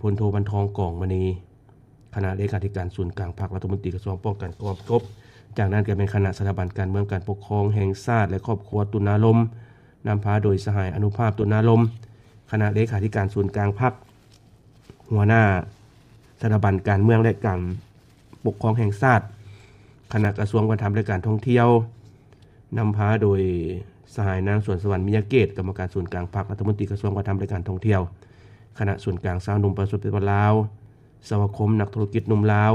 ພົນໂທ ວັນທອງ ກອງມະນີ ຄະນະເລຂາທິການສູນກາງພັກ ລັດຖະມົນຕີກະຊວງປ້ອງກັນຄວາມສະຫງົບ. ຈາກນັ້ນກໍແມ່ນຄະນະສະຖາບັນການເມືອງ ການປົກຄອງແຫ່ງຊາດ ແລະ ຄອບຄົວ ຕຸນາລົມ ນຳພາໂດຍສະຫາຍ ອະນຸພາບ ຕຸນາລົມ ຄະນະເລຂາທິການສູນກາງພັກ, ຫົວໜ້າສະຖາບັນການເມືອງ ແລະ ການປົກຄອງແຫ່ງຊາດ, ຄະນະກະຊວງວັດທະນະທຳ ແລະ ການທ່ອງທ່ຽວ ນຳພາໂດຍສະຫາຍ ນາງ ສວນສະຫວັນ ມີຍະເກດ ກຳມະການສູນກາງພັກ ລັດຖະມົນຕີກະຊວງວັດທະນະທຳ ແລະ ການທ່ອງທ່ຽວ, ຄະນະສູນກາງຊາວໜຸ່ມປະຊາຊົນປະຕິວັດລາວ, ສະມາຄົມນັກທຸລະກິດໜຸ່ມລາວ,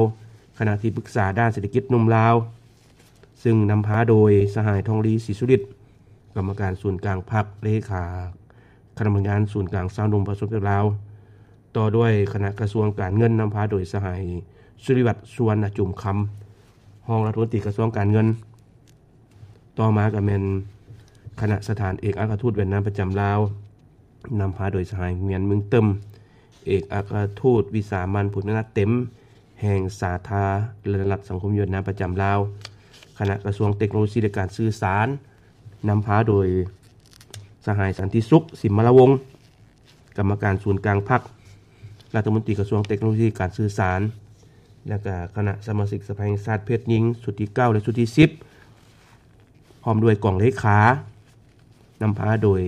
ຄະນະທີ່ປຶກສາດ້ານເສດຖະກິດໜຸ່ມລາວ ຊຶ່ງນຳພາໂດຍສະຫາຍ ທອງລີ ສີສຸລິດ ກຳມະການສູນກາງພັກ, ເລຂາຄະນະພະນັກງານສູນກາງຊາວໜຸ່ມປະຊາຊົນປະຕິວັດລາວ, ຕໍ່ດ້ວຍຄະນະກະຊວງການເງິນ ນຳພາໂດຍສະຫາຍ ສຸລິວັດ ສຸວັນນະຈຸມຄຳ ຮອງລັດຖະມົນຕີກະຊວງການເງິນ. ຕໍ່ມາກໍແມ່ນຄະນະສະຖານເອກອັກຄະທູດຫວຽດນາມປະຈຳລາວ ນຳພາໂດຍສະຫາຍ ງວຽນ ເມືອງເຕີມ ເອກອັກຄະທູດວິສາມັນຜູ້ມີອຳນາດເຕັມແຫ່ງສາທາລະນະລັດສັງຄົມຫວຽດນາມປະຈຳລາວ, ຄະນະກະຊວງເຕັກໂນໂລຊີ ແລະ ການສື່ສານ ນຳພາໂດຍສະຫາຍ ສັນຕິສຸກ ສິມມະລາວົງ ກຳມະການສູນກາງພັກ ລັດຖະມົນຕີກະຊວງເຕັກໂນໂລຊີ ການສື່ສານ ແລະ ກະຄະນະສະມາຊິກສະພາແຫ່ງຊາດເພດຍິງ ຊຸດທີເກົ້າ ແລະ ຊຸດທີສິບ ພ້ອມດ້ວຍກອງເລຂາ ນຳພາໂດຍ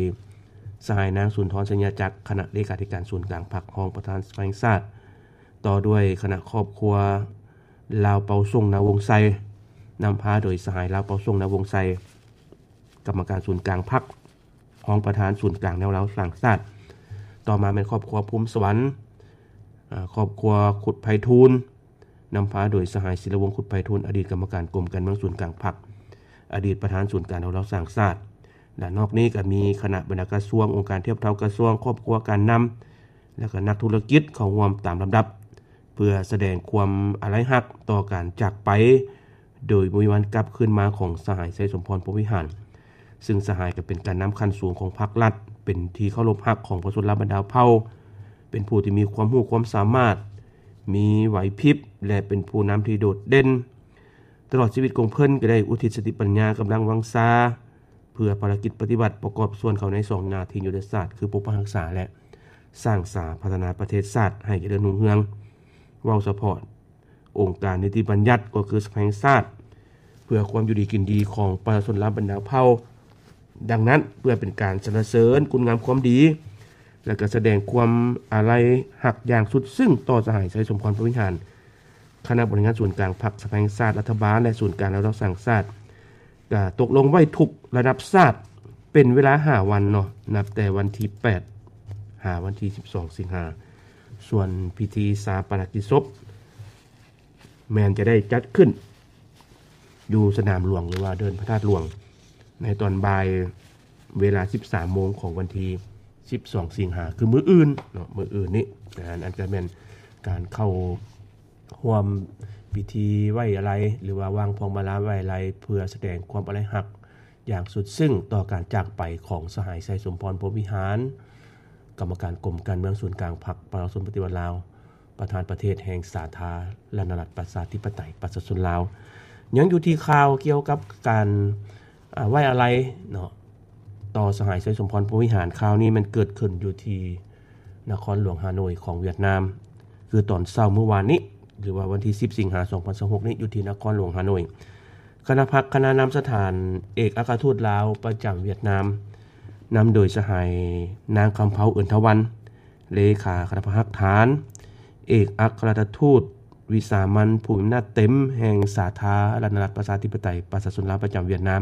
ສະຫາຍ ນາງ ສຸນທອນ ໄຊຍະຈັກ ຄະນະເລຂາທິການສູນກາງພັກ ຮອງປະທານສະພາແຫ່ງຊາດ, ຕໍ່ດ້ວຍຄະນະຄອບຄົວລາວເປົາສົງ ນາວົງໄຊ ນຳພາໂດຍສະຫາຍ ລາວເປົາສົງ ນາວົງໄຊ ກຳມະການສູນກາງພັກ ຮອງປະທານສູນກາງແນວລາວສ້າງຊາດ. ຕໍ່ມາແມ່ນຄອບຄົວພູມສະຫວັນ, ອາ, ຄອບຄົວຄຸດໄພທູນ, ນຳພາໂດຍສະຫາຍ ສິລະວົງ ຄຸດໄພທູນ, ອະດີດກຳມະການກົມການເມືອງສູນກາງພັກ, ອະດີດປະທານສູນກາງແນວລາວສ້າງຊາດ. ແລະ ນອກນີ້ກໍມີຄະນະບັນດາກະຊວງ, ອົງການທຽບເທົ່າກະຊວງ, ຄອບຄົວການນຳ ແລະ ກໍນັກທຸລະກິດເຂົ້າຮ່ວມຕາມລຳດັບ ເພື່ອສະແດງຄວາມອາໄລຮັກຕໍ່ການຈາກໄປໂດຍບໍ່ມີວັນກັບຄືນມາຂອງສະຫາຍ ໄຊສົມພອນ ພົມວິຫານ, ຊຶ່ງສະຫາຍກໍເປັນການນຳຂັ້ນສູງຂອງພັກລັດ, ເປັນທີ່ເຄົາລົບຮັກຂອງປະຊາຊົນລາວບັນດາເຜົ່າ, ເປັນຜູ້ທີ່ມີຄວາມຮູ້ຄວາມສາມາດ, ມີໄຫວພິບ ແລະ ເປັນຜູ້ນຳທີ່ໂດດເດັ່ນ. ຕະຫຼອດຊີວິດຂອງເພິ່ນກໍໄດ້ອຸທິດສະຕິປັນຍາ, ກຳລັງວັງຊາ ເພື່ອພາລະກິດປະຕິວັດ, ປະກອບສ່ວນເຂົ້າໃນສອງໜ້າທີ່ຍຸດທະສາດ ຄື ປົກປັກຮັກສາ ແລະ ສ້າງສາພັດທະນາປະເທດຊາດໃຫ້ຈະເລີນຮຸ່ງເຮືອງ. ເວົ້າສະເພາະອົງການນິຕິບັນຍັດ ກໍຄືສະພາແຫ່ງຊາດ ເພື່ອຄວາມຢູ່ດີກິນດີຂອງປະຊາຊົນລາວບັນດາເຜົ່າ. ດັ່ງນັ້ນ, ເພື່ອເປັນການສັນລະເສີນຄຸນງາມຄວາມດີ ແລະ ກະສະແດງຄວາມອາໄລຮັກຢ່າງສຸດຊຶ້ງຕໍ່ສະຫາຍ ໄຊສົມພອນ ພົມວິຫານ, ຄະນະບໍລິຫານງານສູນກາງພັກ, ສະພາແຫ່ງຊາດ, ລັດຖະບານ ແລະ ສູນກາງແນວລາວສ້າງຊາດ ກະຕົກລົງໄວ້ທຸກລະດັບຊາດເປັນເວລາຫ້າວັນເນາະ, ນັບແຕ່ວັນທີແປດຫາວັນທີສິບສອງສິງຫາ. ສ່ວນພິທີຊາປະນະກິດສົບ ແມ່ນຈະໄດ້ຈັດຂຶ້ນຢູ່ສະໜາມຫຼວງ ຫຼືວ່າເດີ່ນພະທາດຫຼວງ ໃນຕອນບ່າຍເວລາສິບສາມໂມງຂອງວັນທີສິບສອງສິງຫາ ຄືມື້ອື່ນເນາະ, ມື້ອື່ນນີ້. ອັນນັ້ນກໍແມ່ນການເຂົ້າຮ່ວມພິທີໄວ້ອາໄລ ຫຼືວ່າວາງພວງມາລາໄວ້ອາໄລ ເພື່ອສະແດງຄວາມອາໄລຮັກຢ່າງສຸດຊຶ້ງຕໍ່ການຈາກໄປຂອງສະຫາຍ ໄຊສົມພອນ ພົມວິຫານ ກຳມະການກົມການເມືອງສູນກາງພັກປະຊາຊົນປະຕິວັດລາວ, ປະທານປະເທດແຫ່ງສາທາລະນະລັດປະຊາທິປະໄຕປະຊາຊົນລາວ. ຍັງຢູ່ທີ່ຂ່າວກ່ຽວກັບການ ອາ ໄວ້ອາໄລເນາະ ຕໍ່ສະຫາຍ ໄຊສົມພອນ ພົມວິຫານ. ຂ່າວນີ້ແມ່ນເກີດຂຶ້ນຢູ່ທີ່ນະຄອນຫຼວງຮ່າໂນ້ຍຂອງຫວຽດນາມ, ຄືຕອນເຊົ້າມື້ວານນີ້ ຫຼືວ່າວັນທີສິບສິງຫາສອງພັນຊາວຫົກນີ້ ຢູ່ທີ່ນະຄອນຫຼວງຮ່າໂນ້ຍ. ຄະນະພັກຄະນະນຳສະຖານເອກອັກຄະທູດລາວປະຈຳຫວຽດນາມ ນຳໂດຍສະຫາຍ ນາງ ຄຳເພົາ ເອີນທະວັນ ເລຂາຄະນະພັກຮາກຖານ, ເອກອັກຄະລັດຖະທູດວິສາມັນຜູ້ມີອຳນາດເຕັມແຫ່ງສາທາລະນະລັດປະຊາທິປະໄຕປະຊາຊົນລາວປະຈຳຫວຽດນາມ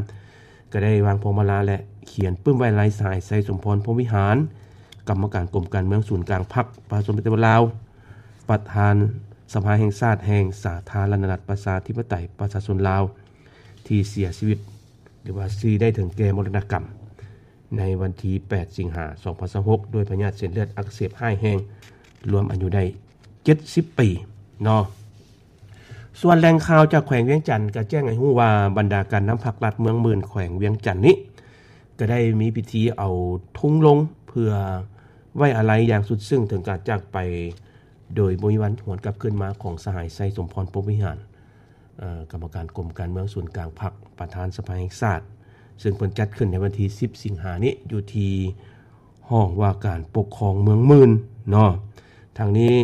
ກໍໄດ້ວາງພວງມາລາ ແລະ ຂຽນປຶ້ມໄວ້ອາໄລສະຫາຍ ໄຊສົມພອນ ພົມວິຫານ ກຳມະການກົມການເມືອງສູນກາງພັກປະຊາຊົນປະຕິວັດລາວ, ປະທານສະພາແຫ່ງຊາດແຫ່ງສາທາລະນະລັດປະຊາທິປະໄຕປະຊາຊົນລາວ ທີ່ເສຍຊີວິດ ຫຼືວ່າທີ່ໄດ້ເຖິງແກ່ມໍລະນະກຳ ໃນວັນທີແປດສິງຫາສອງພັນຊາວຫົກ ດ້ວຍພະຍາດເສັ້ນເລືອດອັກເສບຮ້າຍແຮງ, ລວມອາຍຸໄດ້ເຈັດສິບປີເນາະ. ສ່ວນແຫຼ່ງຂ່າວຈາກແຂວງວຽງຈັນກໍແຈ້ງໃຫ້ຮູ້ວ່າ ບັນດາການນຳພັກລັດເມືອງໝື່ນແຂວງວຽງຈັນນີ້ ກໍໄດ້ມີພິທີເອົາທຸງລົງ ເພື່ອໄວ້ອາໄລຢ່າງສຸດຊຶ້ງເຖິງການຈາກໄປໂດຍບໍ່ມີວັນຫວນກັບຄືນມາຂອງສະຫາຍ ໄຊສົມພອນ ພົມວິຫານ ເອີ ກຳມະການກົມການເມືອງສູນກາງພັກ ປະທານສະພາແຫ່ງຊາດ, ເຊິ່ງເພິ່ນຈັດຂຶ້ນໃນວັນທີສິບສິງຫານີ້ ຢູ່ທີ່ຫ້ອງວ່າການປົກຄອງເມືອງໝື່ນເນາະ. ທັງນີ້